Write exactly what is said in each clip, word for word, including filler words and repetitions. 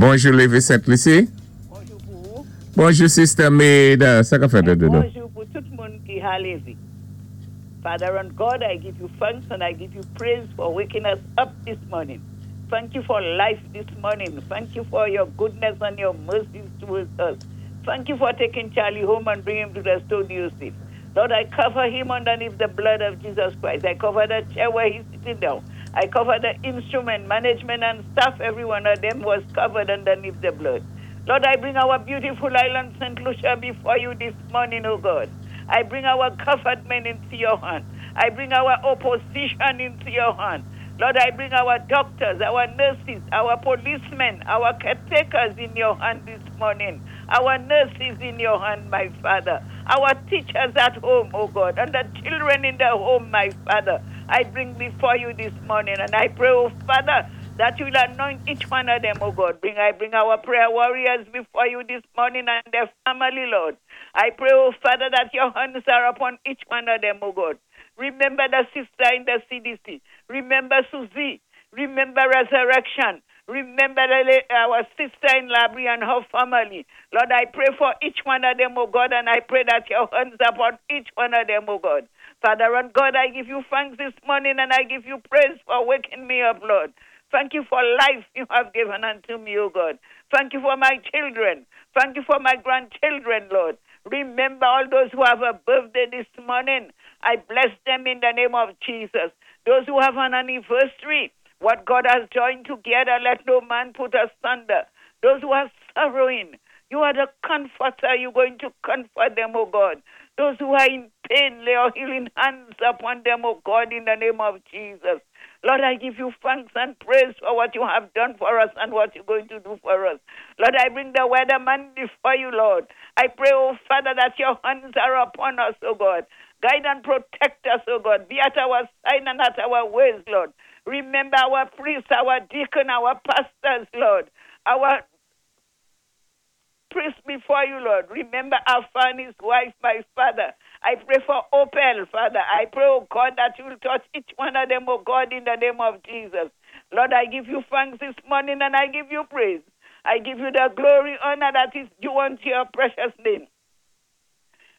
Bonjou, Lévi Sent-Lisi. Bonjou pou ou. Bonjou, Sister Maida. Sa ka fèt de nou? Bonjou pou tout moun ki ha lévé. Father and God, I give you thanks and I give you praise for waking us up this morning. Thank you for life this morning. Thank you for your goodness and your mercies towards us. Thank you for taking Charlie home and bringing him to the studio safe. Lord, I cover him underneath the blood of Jesus Christ. I cover the chair where he's sitting down. I cover the instrument, management, and staff. Every one of them was covered underneath the blood. Lord, I bring our beautiful island, Saint Lucia, before you this morning, oh God. I bring our government into your hand. I bring our opposition into your hand. Lord, I bring our doctors, our nurses, our policemen, our caretakers in your hand this morning. Our nurses in your hand, my Father. Our teachers at home, oh God, and the children in the home, my Father. I bring before you this morning, and I pray, oh Father, that you will anoint each one of them, oh God. Bring I bring our prayer warriors before you this morning and their family, Lord. I pray, oh Father, that your hands are upon each one of them, oh God. Remember the sister in the C D C. Remember Susie. Remember Resurrection. Remember the, our sister in Labrie and her family. Lord, I pray for each one of them, oh God, and I pray that your hands upon each one of them, oh God. Father and God, I give you thanks this morning and I give you praise for waking me up, Lord. Thank you for life you have given unto me, O God. Thank you for my children. Thank you for my grandchildren, Lord. Remember all those who have a birthday this morning. I bless them in the name of Jesus. Those who have an anniversary, what God has joined together, let no man put asunder. Those who are sorrowing, you are the comforter. You're going to comfort them, oh God. Those who are in pain, lay your healing hands upon them, oh God, in the name of Jesus. Lord, I give you thanks and praise for what you have done for us and what you're going to do for us. Lord, I bring the weatherman before you, Lord. I pray, oh Father, that your hands are upon us, oh God. Guide and protect us, oh God. Be at our side and at our ways, Lord. Remember our priests, our deacon, our pastors, Lord. Our priests before you, Lord. Remember Alpha and his wife, my Father. I pray for Opel, Father. I pray, oh God, that you will touch each one of them, oh God, in the name of Jesus. Lord, I give you thanks this morning and I give you praise. I give you the glory, honor that is due unto your precious name.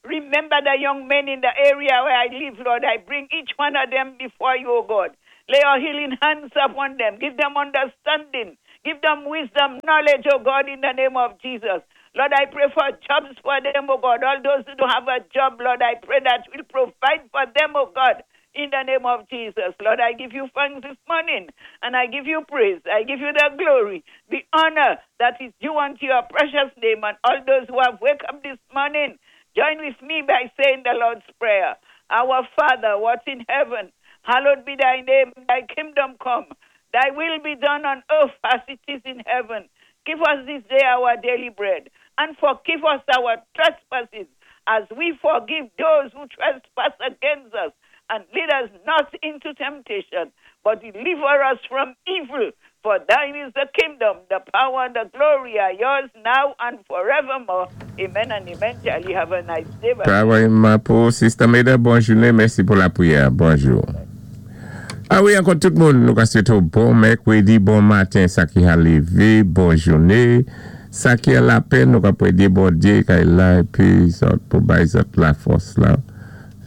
Remember the young men in the area where I live, Lord. I bring each one of them before you, O God. Lay your healing hands upon them. Give them understanding. Give them wisdom, knowledge, O God, in the name of Jesus. Lord, I pray for jobs for them, oh God. All those who don't have a job, Lord, I pray that you will provide for them, oh God, in the name of Jesus. Lord, I give you thanks this morning and I give you praise. I give you the glory, the honor that is due unto your precious name. And all those who have woke up this morning, join with me by saying the Lord's Prayer. Our Father, what's in heaven, hallowed be thy name, thy kingdom come. Thy will be done on earth as it is in heaven. Give us this day our daily bread, and forgive us our trespasses as we forgive those who trespass against us. And lead us not into temptation, but deliver us from evil. For thine is the kingdom, the power, and the glory are yours now and forevermore. Amen and amen. Charlie, have a nice day. Bye. Pareillement pou Sister Maida, bonn jouné, mèsi pou lapriyè. Bonjou. A wi, ankò tout moun, nou ka swété bon mèkwédi, bon maten, sa ki a lévé, bonn jouné. Sa ki a lapenn, nou ka pwédé Bondyé kay la, épi zòt pou bay zòt lafòs la.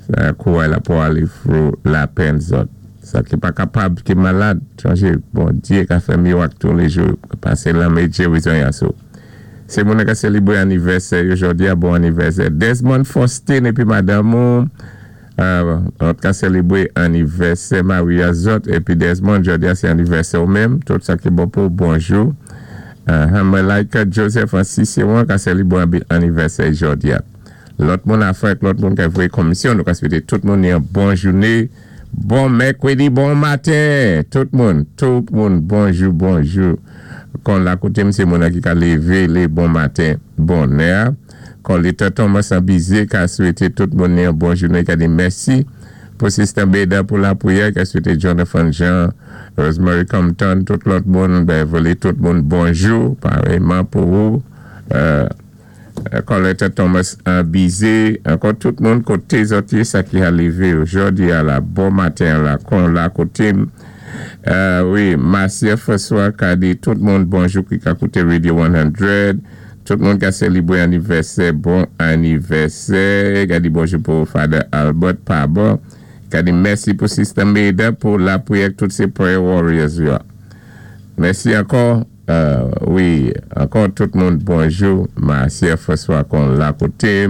Sa kouwè la pou alé through lapenn zòt. Sa ki pa kapab, ki malad, chonjé, Bondyé ka fè miwak tou lé jou, pasé lanmen gérizon yaso. Sé moun ka sélébré anivèsè, jòdi a bon anivèsè. Desmond Faustin épi madanm ou, euh, ka sélébré anivèsè Maria zòt, épi Desmond, jòdi a sé anivèsè ou menm, tout sa ki bon pou bonjou. Uh, Malaika Joseph an Cicéron ka sélébré anivèsè jòdi a. Lòt moun a fèt, lòt moun ka voyé komisyon, nou ka swété tout moun yon bon jouné, bon mèkwédi, bon maten, tout moun, tout moun, bonjou, bonjou. Kon la koté sé moun ki ka lévé lé bon maten, bonè. Kon Leta Thomas Abizé ka swété tout moun yon bon jouné, ka di mèsi pou Sister Beda pou lapriyè, ka swété Jonathan Jean, Rosemary Compton, tout lòt moun, Beverly, tout moun, bonjou, pareillement pou ou. Euh, Colette Thomas Abizé, ankò tout moun koté zòt yé sa ki a lévé jòdi a la bon maten la kon la koté. Euh, wi, Marcia François ka di tout moun bonjou ki ka kouté Radio san. Tout moun ki a sélébwé anniversaire, bon anniversaire. Ka di bonjou pou Father Albert Pabon. Ka di mèsi pou Sister Maida pou lapriyè tout sé prayer warriors yo. Mèsi ankò. Euh, wi, ankò tout moun bonjou. Marcia François kon la koté.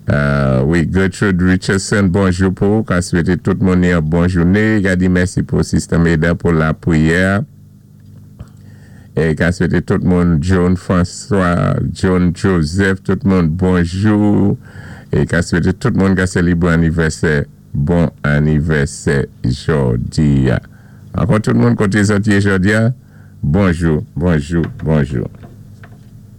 Euh, wi, Gertrude Richardson, bonjou pou. Ka swété tout moun yon bon jouné. Ka di mèsi pou Sister Maida pou lapriyè. É ka swété tout moun John François, John Joseph, tout moun bonjou. É ka swété tout moun ka sélébwé anniversaire, bon anniversaire jòdi a. Ankò tout moun koté zòt yé jòdi a, bonjou, bonjou, bonjou.